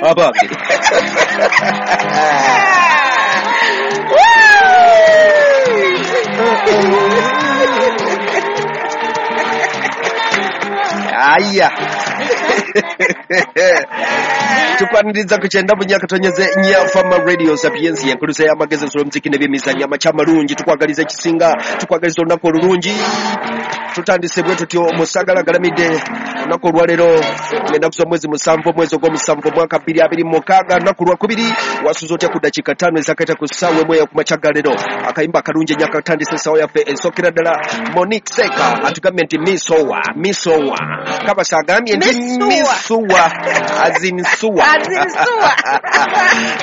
Abange. Aya. Tukwaniriza ku 94.4 Fama Radio Sapiensia enkuluza y'amagezi ensolo muziki n'ebyemizannyo amakya amalungi. Tukwagaliza ekisinga, tukwagaliza olunaku olulungi. Tutandise bwe tutyo Musagala Galamidde olunaku olwaleero ng'ennaku z'omwezi 7 omwezi ogw'omusanvu omwaka 2026 lunaku lwakubiri. Wasuze otya ku ddakiika 5 ezakayita ku ssaawa 1 ku makya ga leero. Akayimba akalungi ennyo akatandise essaawa yaffe esookera ddala. Monique Seka atugambye nti misowa misowa, Kabasa agambye nti misuwa azinsuwa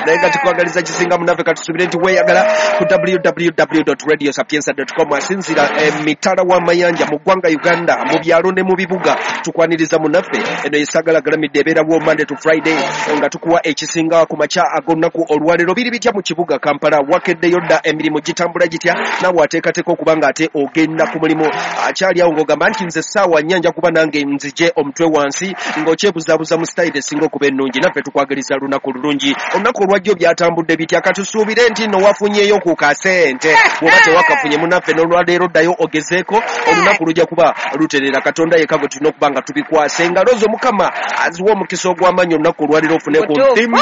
naye nga tukwagaliza kisinga munaffe. Katusubire nti weeyagala ku www.radiosapienza.com. Asinzira emitala w'amayanja mu ggwanga Uganda, mu byalo ne mu bibuga. Tukwaniriza munaffe. Eno Yesagala Galamidde ebeerawo Monday to Friday nga tukuwa ekisinga ku makya ag'olunaku olwaleero. Biri bitya mu kibuga Kampala? Wakeddeyo dda? Emirimu gitambula gitya? Naawe ateekateeka okuba nga ate ogenda ku mulimu akyali awo ng'ogamba nti nze essaawa nnya nja kuba nange nzije omutwe wansi, ng'okyebuzaabuza mu sitayiro esinga okuba ennungi. Naffe tukwagaliza lunaku lulungi. Olunaku olwajjo byatambudde bitya? Katusuubire nti nno wafunyeeyo ku kasente. Bw'oba tewakafunye munaffe, n'olwaleero ddayo ogezeeko, olunaku lujja kuba luterera. Katonda yekka gwe tulina okuba nga tubikwasa engalo zo. Mukama aziwa omukisa ogw'amaanyi olunaku olwaleero ofune ku nthimbi,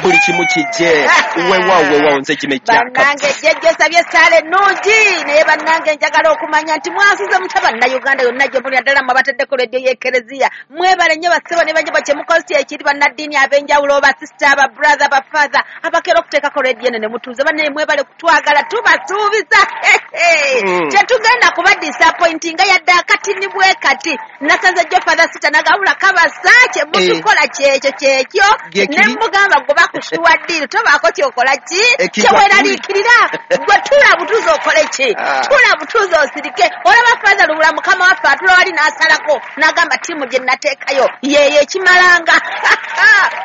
buli kimu kijje. Weewaawo weewaawo, nze Kimejja. Bannange jjajja osabye essaala ennungi, naye bannange njagala okumanya nti mwasuze mutya Bannayuganda yonna gye muli, naddala mmwe abateddeko rediyo y'Ekereziya. Mwebale nnyo bassebo ne bannyabo kyemukozi ekiri, bannaddiini ab'enjawulo, basisita, ababrother, bafather abakeera okuteekako rediyo eno ne mutuuze. Bannaye mwebale kutwagala, tubasuubiza tetugenda kuba disappointinga yadde akatini bwe kati. Nasanze jjo Father Sita nagabula Kabasa kyemutukola kyekyo kyekyo, ne mugamba gwe bakusuwa ddiiru, tobaako kyokola ki kyeweraliikirira, gwe tula butuuze okole ki, tula butuuze osirike. Olaba Father Lubula mukama waffe atula wali n'asalako n'agamba ttiimu gye nateekayo yeeyo ekimalanga.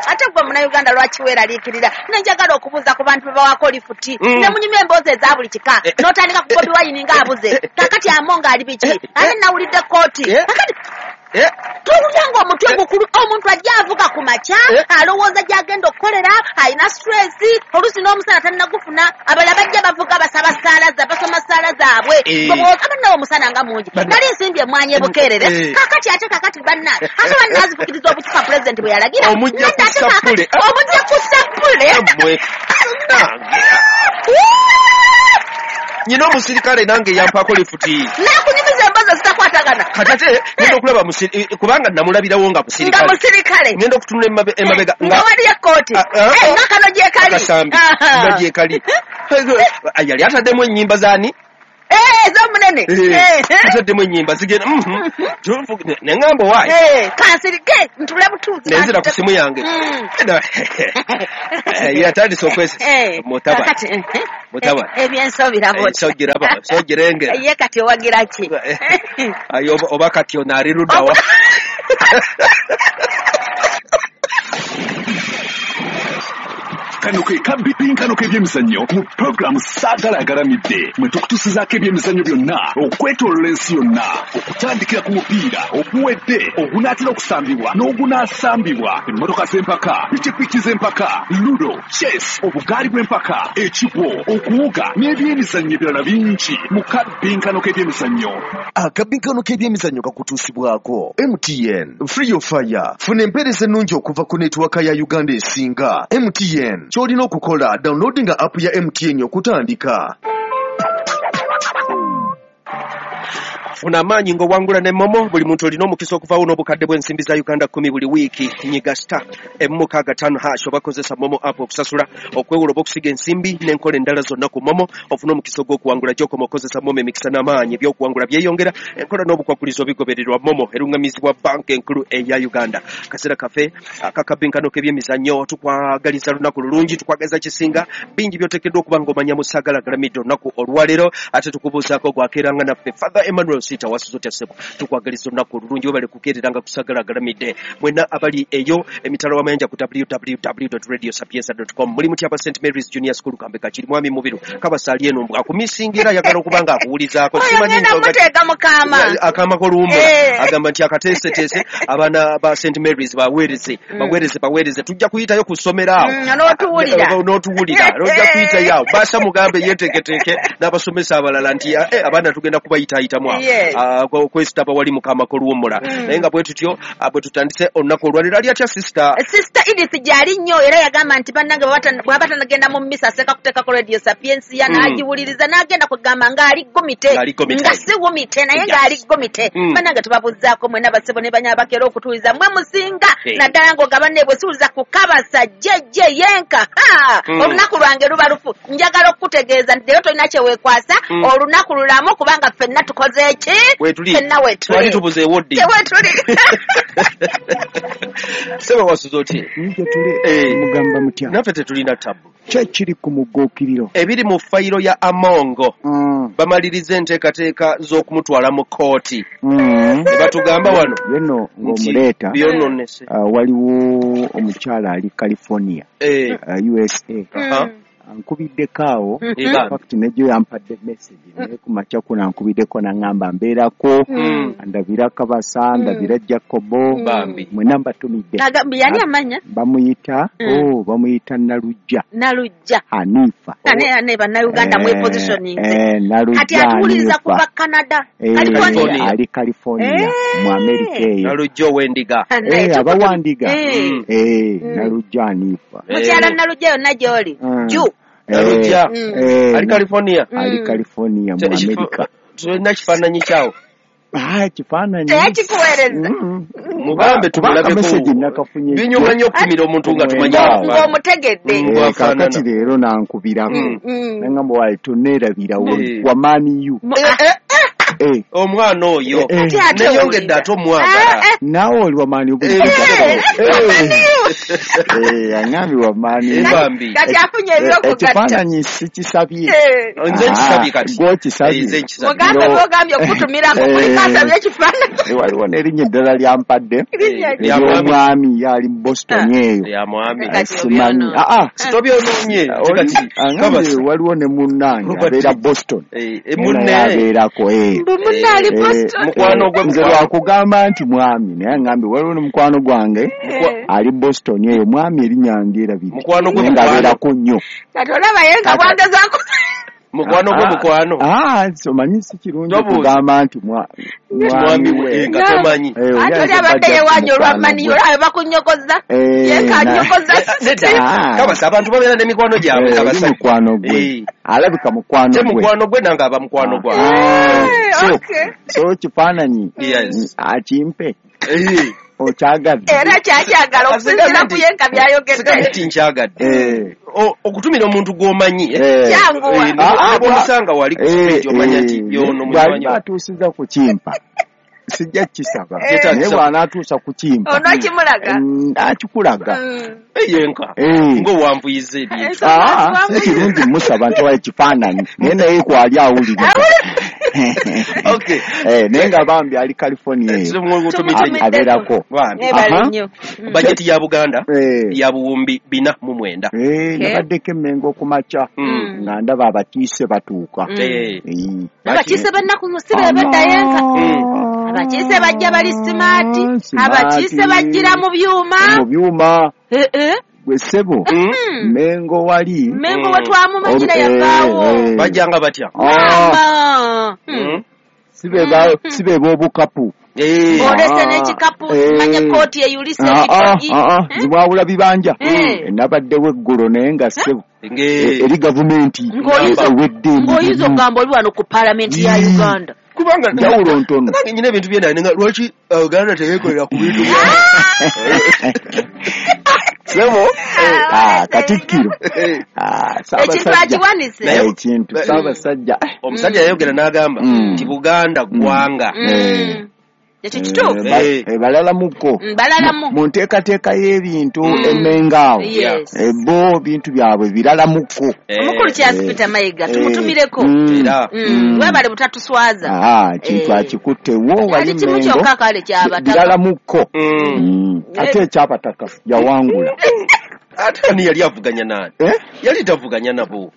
Ate gwe Munnayuganda lwaki weeraliikirira? Nenjagala okubuuza ku bantu bebawaako lifuti ne munyumya emboozi eza buli kika, n'otandika ku Bobi Wine ng'abuze kakati Amonga ali biki, ate nawulidde kooti kakati towulira ng'omutwe gukulu. Omuntu ajja avuga ku makya alowooza gy'agenda okukolera, alina stress, oluusi n'omusana tannagufuna. Abalala bajja bavuga basaba ssaala, basoma ssaala zaabwe, abannawe omusana nga mungi. Nali nsimbye emmwanyi ebukeerere kakati ate kakati banna ate bannazifukiriza obucupa pulezidenti bwe yalagira omujja ku sappule, omujja ku sappule. Nyina omusirikale nange yampaako lifuti nakunyumiza emboozi ezitakwatagana. Kati ate ngenda okulaba kubanga namulabirawo nga musirikale, nga musirikale, ngenda okutunula emabega nga waliyo ekkooti nga kano gyekali akasambi nga gyekali. Yali ataddemu ennyimba zaani? Ez'omunene. Ataddemu ennyimba zigenda neŋŋamba waayi kansirike ntule butuuzi, nenzira ku simu yange. Yatandise okwesi mutabani mutabani ebyensobirabo nsogiraba nsogirengera. Ye kati owagira ki? Oba kati ono ali luddawa? Kano ke kabipinkano k'ebyemizannyo mu puroguramu Saagala Agalamidde, mwe tukutusizaako ebyemizannyo byonna okwetoolola ensi yonna, okutandikira ku mupiira oguwedde, ogunaatera okusambibwa n'ogunaasambibwa, emmotoka z'empaka, pikipiki z'empaka, ludo, chess, obugaali bw'empaka, ekigwo, okuwuga n'ebyemizannyo ebirala bingi mu kabinkano k'ebyemizannyo. Akabinkano k'ebyemizannyo kakutuusibwako MTN Free Your Fire. Funa empeereza ennungi okuva ku netiwaka ya Uganda esinga MTN. Ky'olina okukola, downloadinga app ya MTN okutandika. Funa amaanyi ng'owangula ne Momo. Buli muntu olina omukisa okuvaawo n'obukadde bw'ensimbi za Uganda 10 buli wiiki. Nyiga *165# oba kozesa Momo app okusasula, okwewola oba okusiga ensimbi n'enkola endala zonna ku Momo ofune omukisa ogw'okuwangula. Gy'okoma okozesa Momo, emikisa n'amaanyi ebyokuwangula byeyongera. Enkola n'obukwakulizo bigobererwa. Momo erungamizibwa Banka Enkulu eya Uganda. Akaseera kaffe akakabinkano k'ebyemizannyo, tukwagaliza lunaku lulungi, tukwagaliza kisinga. Bingi by'oteekeddwa okuba ng'omanya mu Saagala Galamidde olunaku olwaleero, ate tukubuuzaako gwakeeranga naffe Father Emmanuel. Sita wasuze otya ssebo? Tukwagaliza olunaku olulungi, webale kukeereranga kusagala agalamidde. Mwenna abali eyo emitala w'amayanja ku www.radiosapienza.com, muli mutya aba St Mary's Junior School Kambe Kakiri? Mwami Mubiru Kabasa ali eno akumisingira, ayagala okuba nga akuwulizaako. Oyo Simanyi ngenda nsonga muteeka mukama. Akaama k'oluwummula. Agamba nti akateeseteese abaana ba St Mary's baweereze, baweereze, baweereze. Tujja kuyitayo ku ssomero awo. N'otuwulira. N'otuwulira, ojja kuyitayo awo. Basa mugambe yeeteeketeeke n'abasomesa abalala nti abaana tugenda kubayitaayitamu awo. Ah, kwesitaba wali mukama k'oluwummula. Naye nga bwe tutyo bwe tutandise olunaku olwaleero. Ali atya sister? Sister Edith gyali nnyo, era yagamba nti bannange bw'aba tanagenda mu mmisa aseeka kuteekako Radio Sapiensia n'agiwuliriza n'agenda kugamba ng'ali gomite. Ng'ali gomite. Nga si wumite, naye ng'ali gomite. Bannange tubabuzaako mwena basebo ne banya abakera okutuwuliza, mwe musinga. Naddala ng'ogaba ne bwe siwuliza ku Kabasa jjejje yenka. Ha! Olunaku lwange luba lufu. Njagala okukutegeeza nti leero tolina kye weekwasa. Olunaku lulamu, kubanga ffenna tukoze eki? Weetuli. Ffenna Twali weetuli. tubuzeewo ddi? Tewetuli. Sebe, wasuze otya? Nje tuli. Mugamba mutya? Naffe tetulina tabu. Ki ekiri ku mugguukiriro? Ebiri mu fayiro ya Amongo, bamaliriza enteekateeka z'okumutwala mu kkooti. Ne batugamba wano Yeno nti ng'omuleeta, byononese. Waliwo omukyala ali California, USA, ankubiddeko awo. Bambi. Fact nejo yampadde message, naye ku makya kuno ankubiddeko naŋŋamba mbeerako, ndabira Kabasa, ndabira Jacobo. Bambi. Mwena mbatumidde. Yani amanya? Bamuyita oh, bamuyita Nalujja. Nalujja. Hanifa. Ane bannayuganda mwepositioning. Nalujja Kati atuwuliriza Hanifa. kuva Canada. California. California. Ali California mu Amerika eyo. Nalujja ow'endiga. Abawandiga. Nalujja Hanifa. Mukyala Nalujja, yonna gy'oli ju. Nalujja ali California. Ali California mu Amerika. Tulina kifaananyi kyawo? Ah, kifaananyi Teyakikuweereza? Mugambe Kubanga tumulabeko. message nakafunye. Binyuma nnyo okutumira omuntu nga tumanyi Mwenda. afaanana. Ng'omutegedde. Bw'afaanana. Kakati leero nankubirako nangamba wayi toneerabira wamaani yu. Omwana oyo Kati ate neyongedde owulira. ate omwagala. Naawe oli wamaani. Aŋambye wamaani. Bambi. Kati afunye ebyokugatta. Ekifaananyi sikisabye. Nze nkisabye kati. Gwokisabye. Nze nkisabye. Mugambe bwogambye okutumirako kuliko asabye ekifaananyi. Waliwo n'erinnya eddala lyampadde. Linnya ki? Lya mwami. Eryomwami ye ali mu Boston eyo. Ya mwami. Kati Simanyi. obyonoonye. Ah, ah. Sitobyonoonye. Oli- Kati aŋambye Kabasa. waliwo ne munnange Robert. abeera Boston. Eh, Naye munne. abeerako. Mbu munne ali Boston. Mukwano gwe, Nze mukwano. lwakugamba nti mwami, naye aŋambye waliwo ne mukwano gwange ali Boston eyo, mwami erinnya ndyerabidde. Mukwano gwe, Naye mukwano. ng'abeerako nnyo. Kati olaba ye nga bwangezaako. Mukwano gwe, mukwano. Ah, omanyi si kirungi Tobuuza. kugamba nti Mwami mwami we we. nga tomanyi. Oli Ate oli ayinza abadde bajja yeewanya ku olwa mukwano mani, gwe. olabe bakunyokoza. Yekanyokoza. Nedda. Ah. Kabasa, abantu babeera n'emikwano gyabwe. Oli Kabasa. mukwano gwe, alabika mukwano Te gwe. mukwano gwe nange aba mukwano gwange. Okay. So kifaananyi akimpe okyagadde. Era kyakyagala okusinziira ku ye nga byayogedde. Sigambe nti nkyagadde. Okutumira omuntu gw'omanyi, eh? Kyanguwa. Ne bw'omusanga wali ku street omanya nti yono munywanyi. Bw'aliba atuusiza ku kimpa sijja kukisaba, Kyetaagisa. naye bw'anaatuusa ku kimpa Onookimulaga. Akikulaga. Yenka ng'owanvuyiza ebintu. Ah, si kirungi musaba nti waye ekifaananyi, naye naye kwali awulira. Okay. Naye nga bambi ali California eyo. Tumutumidde. Abeerako. Bambi. Mwebale Aha. nnyo. Bajeti ya Buganda ya 4009. Nabaddeko emmengo okumakya nga ndaba abakiise batuuka. Abakiise b'ennaku si be badda yenka. Abakiise bajja bali smart. Smart. Abakiise bajjira mu byuma. Mu byuma. Gwe ssebo, Mengo wali. Mengo we twamumanyira yavaawo. Bajjanga batya? Ah, Maama. Si be b'obukapu. Olese Ah. n'ekikapu, manya kooti eyulise ekitogi. Zimwawula bibanja. Nabaddewo eggulo naye nga ssebo eri gavumenti ewedde Ng'oyinza emirimu. okugamba oli wano ku paalamenti ya Uganda. Kubanga Njawulo ntono. Nange nyina ebintu byendaye nga lwaki Uganda teyekolera ku bintu bya Ssebo, katikkiro. Ekintu Ssaabasajja. akiwanise. Ekintu Ssaabasajja. Omusajja yayogera n'agamba nti Buganda ggwanga Ekyo kituufu. Balalamuko mu nteekateeka y'ebintu emengaawo bo bintu byabwe biralamuko. Omukulu Charles Peter Mayiga tumutumireko webale butatuswaza. Kintu akikuttewo wali Mengo biralamuko ate ekyabataka yawangula. Ate ani yali avuganya nani? Yali tavuganya nabo.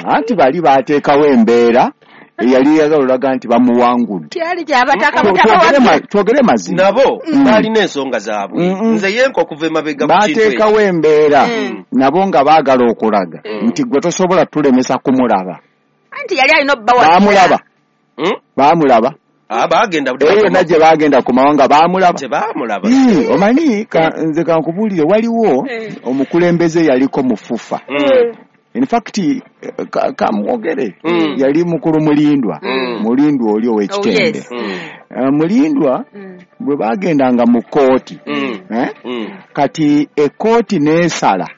Anti bali bateekawo embeera eyali yagala nti bamuwangudde. Twogere mazima. Nabo balina ensonga zaabwe. Nze yenka okuva emabega ku kintu ekyo. Bateekawo embeera nabo nga baagala okulaga nti gwe tosobola tulemesa kumulaba. Anti yali alina obbawa. Baamulaba. Baamulaba. Bagenda yonna gye bagenda ku mawanga baamulaba. Tebaamulaba. Omanyi nze kankubuulire waliwo omukulembeze yaliko mu FUFA. In fact kamwogere yali mukulu Mulindwa. Mulindwa oli ow'ekitende. Mulindwa bwe bagendanga mu kkooti kati ekkooti n'esala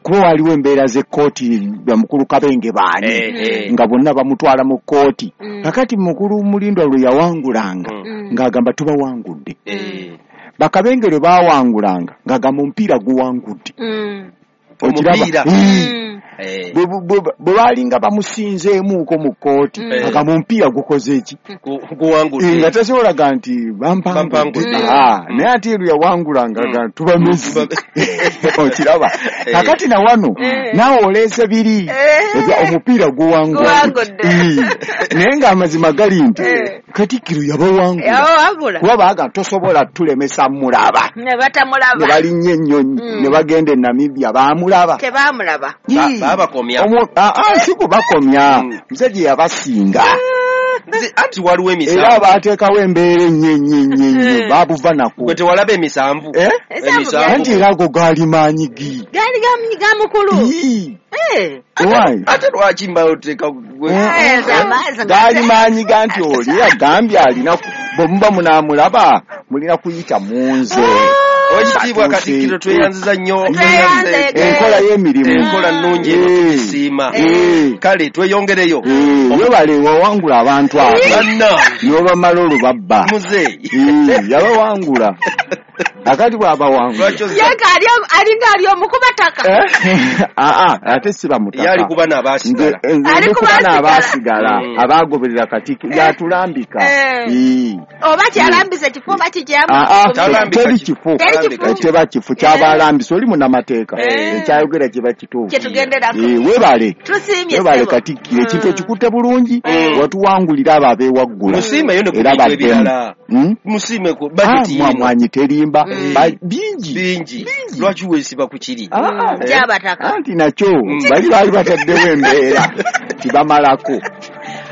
kuba waliwo embeera z'ekkooti bamukulu Kabenge baani nga bonna bamutwala mu kkooti. Kakati mukulu Mulindwa lwe yawangulanga ng'agamba tubawangudde. Bakabenge lwe baawangulanga ng'agamba omupiira guwangudde. Okiraba bwe baalinga bamusinzeemuuko mu kkooti agamba omupiira gukoze eki nga tasobolaga nti bampangudde. Naye ate lwe yawangulanga nga tubamezi. Okiraba kakati na wano naawe oleese biri omupiira guwangudde naye ng'amazima gali nti Katikkiro yabawangula kuba baaga tosobola tulemesa mulaba ne batamulaba ne balinnya ennyonyi ne bagenda e Namibia baamulaba tebamulaba. Babakomya. Si kubakomya musajja yabasinga. Anti waliwo emisanvu era baateekawo embeera ennyo ennyo ennyo baabuva nako. Gwe tewalaba emisanvu? Anti era ago gaali maanyi gi gaali ga mukulu. Ate lwaki mbaoteeka gaali maanyi ga nti oli agambye alina bwe muba munaamulaba mulina kuyita mu nze. Owekitiibwa Katikkiro tweyanziza nnyo enkola y'emirimu enkola nnungi eno tugisiima. Kale tweyongereyo. Webale wawangula abantu abo n'obamala olubabba. Muzeeyi yabawangula. Akati bw'abawangula yeka alinga ali omukubataka. Ate si bamutaka. Yali kuba n'abaasigala. Nze kuba n'abaasigala abaagoberera Katikkiro yatulambika. Oba kyalambisa ekifo oba kikyamu. Teri kifo. Teba kifo ky'abalambisa oli munnamateeka ekyayogera kiba kituufu. Webale webale Katikkiro ekintu ekikutte bulungi watuwangulira abo abeewaggula. Musiimeyo ne ku bintu ebirala. Musiime ku bajeti yino. Mwanyi terimba bingi bingi lwaki weesiba ku kiri kyabataka. Anti nakyo bali baali bataddewo embeera tibamalako.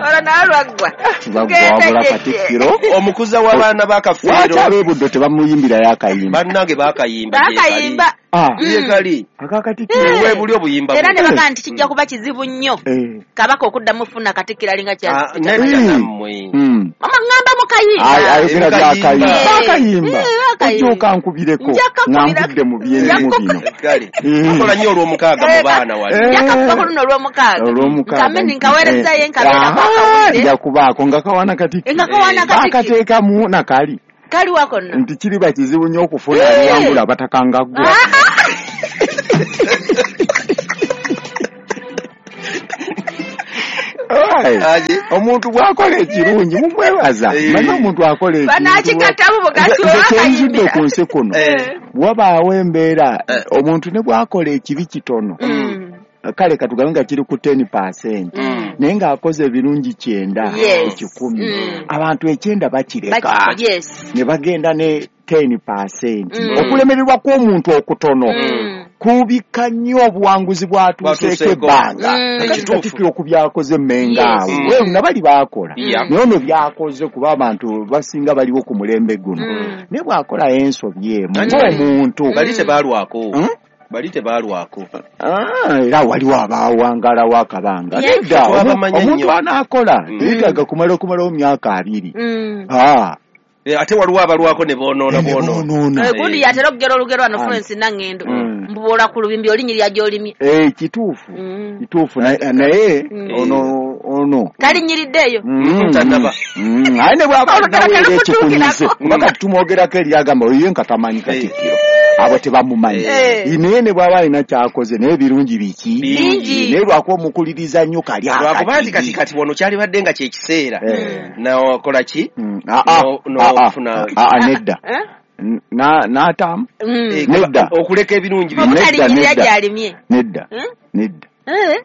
Olwo nawe lwaggwa tibagwabula Katikkiro omukuza w'abaana ba Kafeero. Lwaki ab'ebuddo tebamuyimbirayo akayimba? Bannange bakayimba bakayimba yekali aka Katikkiro webuli obuyimba era ne bagaa nti kijja kuba kizibu nnyo Kabaka okuddamu funa Katikkiro alinga Charles Peter. Nammwe mama ŋŋamba mukayimba ayogera byakayimba bakayimba ojja nkubireko nga nvudde mu byerimu bino. Kale akola nnyo olw'omukaaga mu baana wali. Nja kuba luno olw'omukaaga nkameni nkaweerezayo nkabeera kwakawulire nja kubaako nga kawana Katikkiro nga kawana Katikkiro bakateekamu nakali kali wako nno nti kiriba kizibu nnyo okufuna aliwangula abataka nga ggwe. Omuntu bw'akola ekirungi mumwebaza. Manyi omuntu akola ekintu ku nsi kuno wabaawo embeera omuntu ne bw'akola ekibi kitono kale katugambe nga kiri ku 10% naye ng'akoze ebirungi 9 ku 10 abantu 9 bakireka ne bagenda ne 10%. Okulemererwa kw'omuntu okutono kubikka nnyo obuwanguzi bw'atuuseeko ebbanga. Katikkiro ku byakoze Mmengo awo nabali baakola naye ono byakoze kuba abantu basinga baliwo ku mulembe guno naye bw'akolayo ensobi emu ng'omuntu bali tebaalwako. Bali tebaalwako. Era waliwo abaawangalawo akabanga. Nedda omuntu anaakola yeetaaga kumala okumalawo myaka 2. Ate waliwo abalwako ne boonoona boonoona. Gundi yatera okugera olugero wano Florence Nangendo. mbubola ku lubimbi olinyirira gy'olimye. Kituufu. Kituufu naye ono talinyiriddeeyo. Tannaba. Aye ne bw'aba naweera ekikunyize kuba kati tumwogerako eri agamba oyo ye nga tamanyi Katikkiro. Abo tebamumanyi. Naye ne bw'aba alina ky'akoze naye birungi biki? Bingi. Naye lwakuba omukuliriza nnyo kali lwakuba nti kati wano kyalibadde nga kyekiseera. N'okola ki? N'ofuna. Nedda. N'ataamu. Nedda. Okuleka ebirungi. Nedda. Nedda.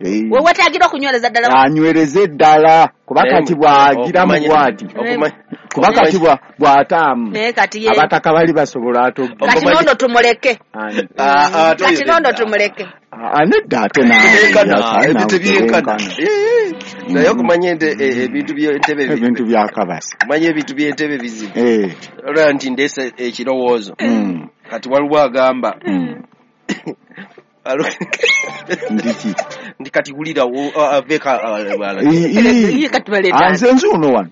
We wetaagira okunywereza ddala. Anywereze ddala kuba kati bw'agiramu bw'ati. Kuba kati bw'ataamu. Abataka bali basobola atogga. Kati nono tumuleke. Kati nono tumuleke. Nedda ate naawe. Ebintu byenkana. Naye okumanya ebintu by'entebe. Ebintu bya Kabasa. Okumanya ebintu by'entebe bizibu. Olaba nti ndeese ekirowoozo. Kati waliwo agamba. Ndiki. Ndi kati wulira aveeka nze nze ono wano.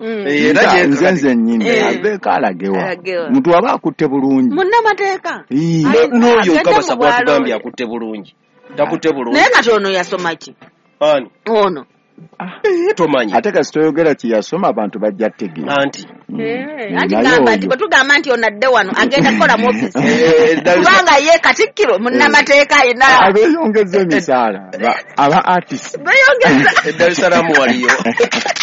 Nze nnyini aveeka alagewa. Muntu aba akutte bulungi. Munnamateeka. N'oyo Kabasa bw'atugambye akutte bulungi. Takutte bulungi. Naye kati ono yasoma ki? Ani? Ono. Tomanyi. Ate kasita oyogera kye yasoma abantu bajja kutegeera. Anti. Anti gamba nti bwe tugamba nti ono adde wano agenda kukola mu ofiisi. Kubanga ye Katikkiro munnamateeka ayina. Abeeyongeza emisaala aba artist. Beeyongeza. E Dar es Salaam waliyo.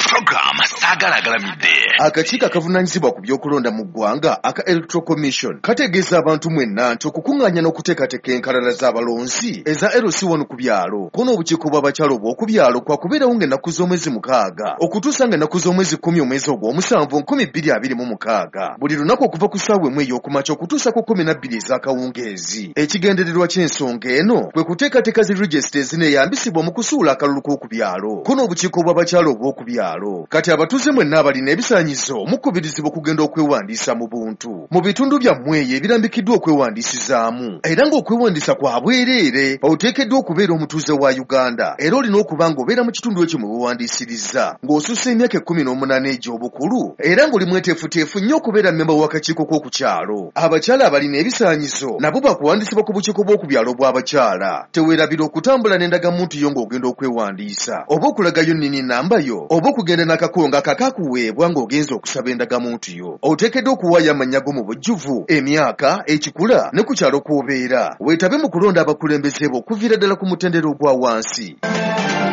Program Saagala Agalamidde. Akakiiko akavunaanyizibwa ku by'okulonda mu ggwanga aka Electoral Commission kategeeza abantu mwenna nti okukuŋŋaanya n'okuteekateeka enkalala z'abalonzi eza LC1 ku byalo ko n'obukiiko bw'abakyala obw'oku byalo kwakubeerawo ng'ennaku z'omwezi 6 okutuusa ng'ennaku z'omwezi 10 omwezi ogw'omusanvu 2026 buli lunaku okuva ku ssaawa 1 ey'okumakya okutuusa ku 12 ez'akawungeezi. Ekigendererwa ky'ensonga eno kwe kuteekateeka zi regisita ezineeyambisibwa mu kusuula akalulu k'oku byalo ko n'obukiiko bw'abakyala obw'oku byalo. Kati abatuuze mwenna abalina ebisaanyizo mukubirizibwa okugenda okwewandiisa mu buntu mu bitundu byammwe eyo ebirambikiddwa okwewandiisizaamu era ng'okwewandiisa kwa bwereere. Oteekeddwa okubeera omutuuze wa Uganda era olina okuba ng'obeera mu kitundu ekyo mwe weewandiisiriza ng'osussa emyaka 18 egy'obukulu era ng'oli mweteefuteefu nnyo okubeera mmemba w'akakiiko k'oku kyalo. Abakyala abalina ebisaanyizo nabo bakuwandiisibwa ku bukiiko bw'oku byalo bw'abakyala. Teweerabira okutambula n'endagamuntu yo ng'ogenda okwewandiisa oba okulagayo nnyini nnamba yo oba okugenda n'akakongo akakakuweebwa ng'ogenza okusaba endagamuntu yo. Oteekeddwa okuwaayo amannya go mu bujjuvu, emyaka, ekikula ne ku kyalo kw'obeera. Weetabe mu kulonda abakulembeze bo okuviira ddala ku mutendera ogwa wansi.